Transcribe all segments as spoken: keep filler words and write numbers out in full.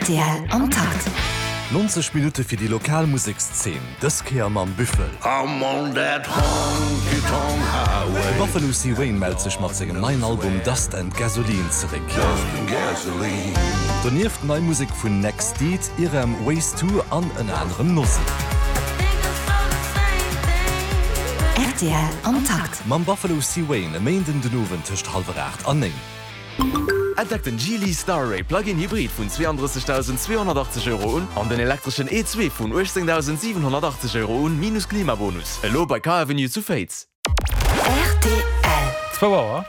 Rtl am Takt. Nonzeg Minutte fir déi lokal Musekszeen, dës Kéier mam Büffel. I'm on that honky tonk highway. De Buffalo C. Wayne mellt sech mat sengem neien Album Dust and Gasoline zeréck. Dust and Gasoline. Donieft nei Musek vun Next Deed, Irem, Ways To an ënner anerem Nossi. Rtl am Takt. Mam Buffalo C. Wayne e Méinden den Owend tëscht hallwer aacht an néng. Entdeckt den Geely Starray Plug-in Hybrid vun zweeandrëssegdausendzweehonnertachtzeg Euro un an den elektreschen E zwee vun uechtzéngdausendsiwenhonnertachtzeg Euro un, minus Klimabonus. Elo bei Car Avenue zu Féiz. Rtl. Zwou Auer.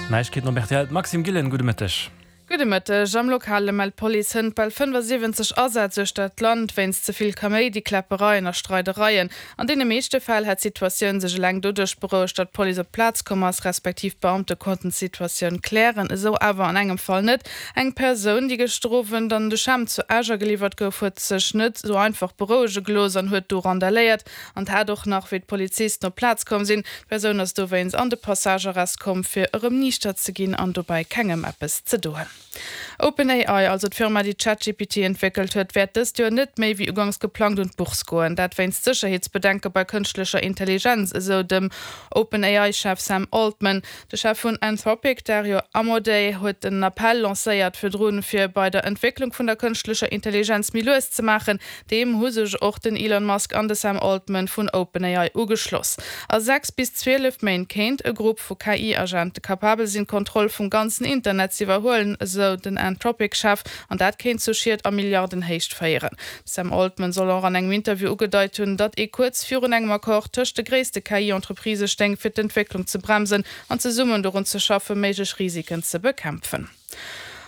Neiegkeeten op rtl, d'Maxime Gillen, gudde Mëtteg. Gudde Mëtteg. Am Lokale mellt d'Police hënt bal fënnefasiwwenzeg Asätz uechter d'Land wéinst ze vill Kaméidi, Kläppereien a Streidereien. An deene meeschte Fäll hätt d'Situatioun sech eleng doduerch berouegt, datt d'Police op d'Plaz komm ass, respektiv d'Beamte konnten d'Situatioun klären. Esou awer an engem Fall net. Eng Persoun, déi gëschter Owend an de Champ zu Esch ageliwwert gouf, huet sech net esou einfach berouege gelooss an huet do randaléiert an hat och nach, wéi d'Polizisten op d'Plaz komm sinn. D'Persoun ass dowéinst an de Passagearrest komm, fir erëm niichter ze ginn an dobäi kengem eppes ze doen. OpenAI, also d'Firma déi ChatGPT entwéckelt huet, wäert dëst Joer net méi wéi ugangs geplangt un d'Bourse goen. Dat wéinst Sécherheetsbedenke bei kënschtlecher Intelligenz, esou dem OpenAI-Chef Sam Altman. De Chef vun Anthropic, Dario Amodei, huet en Appell lancéiert virdrun, fir bei der Entwécklung vun der kënschtlecher Intelligenz méi lues ze maachen. Deem hu sech och den Elon Musk an de Sam Altman vun OpenAI ugeschloss. A sechs bis zwielef Méint kéint e Grupp vu K I-Agente kapabel sinn, d'Kontroll vum ganzen Internet z'iwwerhuelen, esou den Anthropic-Chef, an dat kéint zu Schied a Milliardenhéicht féieren. De Sam Altman soll och an engem Interview ugedeit hunn, datt ee kuerz virun engem Accord tëscht de gréisste K I-Entreprisë stéing, fir d'Entwécklung ze bremsen an zesummen dorun ze schaffen, méiglech Risiken ze bekämpfen.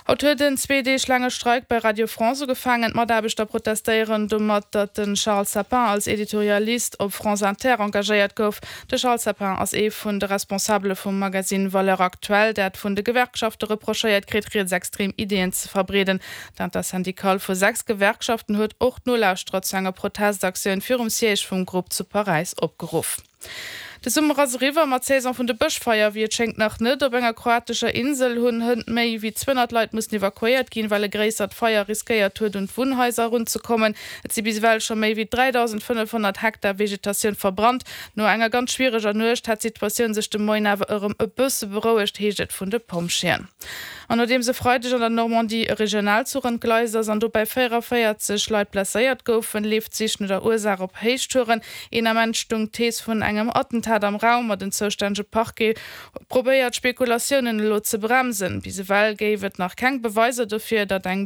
Haut huet en zwee Deeg laange Streik bei Radio France ugefaangen. D'Mataarbechter protestéieren domat, datt de Charles Sapin als Editorialist op France Inter engagéiert gouf. De Charles Sapin ass ee vun de Responsabele vum Magasinn Valeurs Actuelles, dat vun de Gewerkschafte reprochéiert kritt, rietsextrem Ideeën ze verbreeden. D'Intersyndicale vu sechs Gewerkschaften huet och d'Nolauschterer zu enger Protestaktioun virum Siège vum Grupp zu Paräis opgeruff. De Summer ass eriwwer, ma d'Saison vun de Bëschfeier wéi et schéngt nach net. Op enger kroatescher Insel hunn hënt méi wéi zweehonnert Leit mussen evakuéiert ginn, well e gréissert Feier riskéiert huet un d'Wunnhaiser erunzekommen. Et si bis ewell scho méi wéi dräidausendfënnefhonnert Hektar Vegetatioun verbrannt. No enger ganz schwiereger Nuecht hätt d'Situatioun sech de Moien awer erëm e bësse berouegt, heescht et vun de Pompjeeën. An nodeems e Freideg an der Normandie e Regionalzuch entgleist ass an dobäi véierundavéierzeg Leit blesséiert goufen, leeft d'Sich no der Ursaach op Héichtouren. Een Ament stung d'Thees vun engem Attentat am Raum, ma den zoustännege Parquet probéiert d'Spekulatiounen elo ze bremsen. Bis ewell géif et nach keng Beweiser dofir, datt eng.